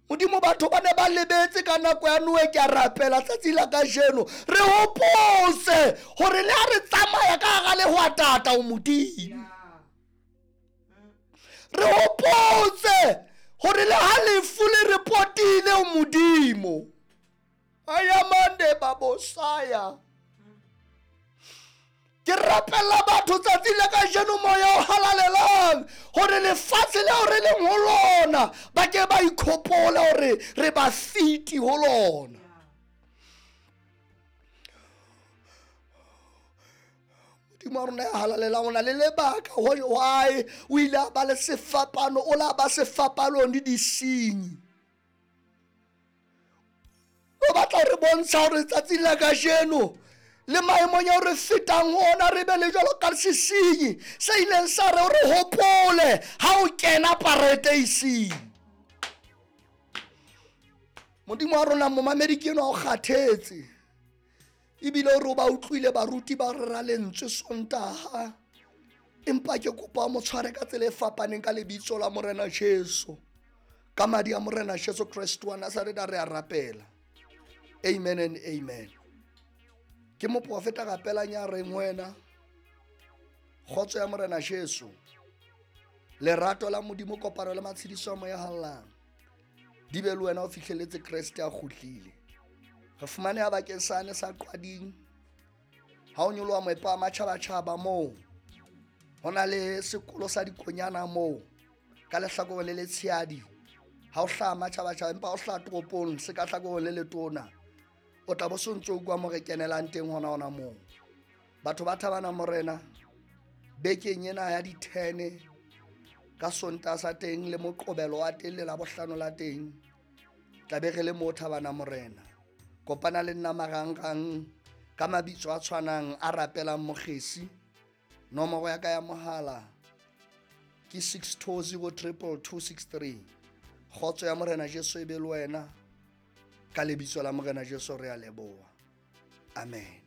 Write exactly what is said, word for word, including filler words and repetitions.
Modimo batho ba ne ba lebetse ka nako ya Noe ke a rapela tsatsi la kajeno re hopotse hore le ha re tsamaya ka hara lehwatata o Modimo. Re hopotse hore le ha lefu le re potile o Modimo. Ayamande babosaya. Ke rapella batho tsatsi la kajeno moya o halalelang hore lefatshe leo re leng ho lona ba ke ba ikhopole hore re ba fiti ho lona. Modimo wa rona ya halalelang o na le lebaka why o ile a ba le sefapano, o la ba sefapanong le disenyi. O batla re bontsha hore tsatsi la kajeno le maemong ao re fetang ho ona re be le jwalo ka sesenyi se ileng sa re re hopole ha o kena paradeising. Modimo wa rona momamedi ke enwa o kgathetse ebile o re o ba utlwile baruti ba rera lentswe Sontaha, empa ke kopa o mo tshware ka tsela e fapaneng ka lebitso la Morena Jesu, ka madi a Morena Jesu Kreste wa Nazareth re a rapela. Amen and amen. Ke moprofeta rapelang ya reng wena kgotso ya Morena Jesu, lerato la Modimo, kopano le matshediso a moya hallang di be le wena o fihleletse Kreste a kgutlile. Re fumaneha bakeng sane sa Qwading ha o nyoloha moepo wa matjhabatjhaba moo ho na le sekolo sa dikonyana moo ka lehlakoreng le letshehadi ha o hlaha matjhabatjhaba, empa o hlaha toropong se ka hlakoreng le letona o tla bo so ntso utlwa mo re kenelang teng hona hona moo. Batho ba thabana Morena bekeng ena ya di-ten ka Sontaha sa teng le Moqobelo wa teng le Labohlano la teng tla be re le mo thabana Morena. Kopana le nna marangrang ka mabitso a tshwanang a rapelang Mokgesi. Nomoro ya ka ya mohala ke six two zero triple two six three. Kgotso ya Morena Jesu e be le wena. Ka lebitso la Morena Jesu re a leboha. Amen.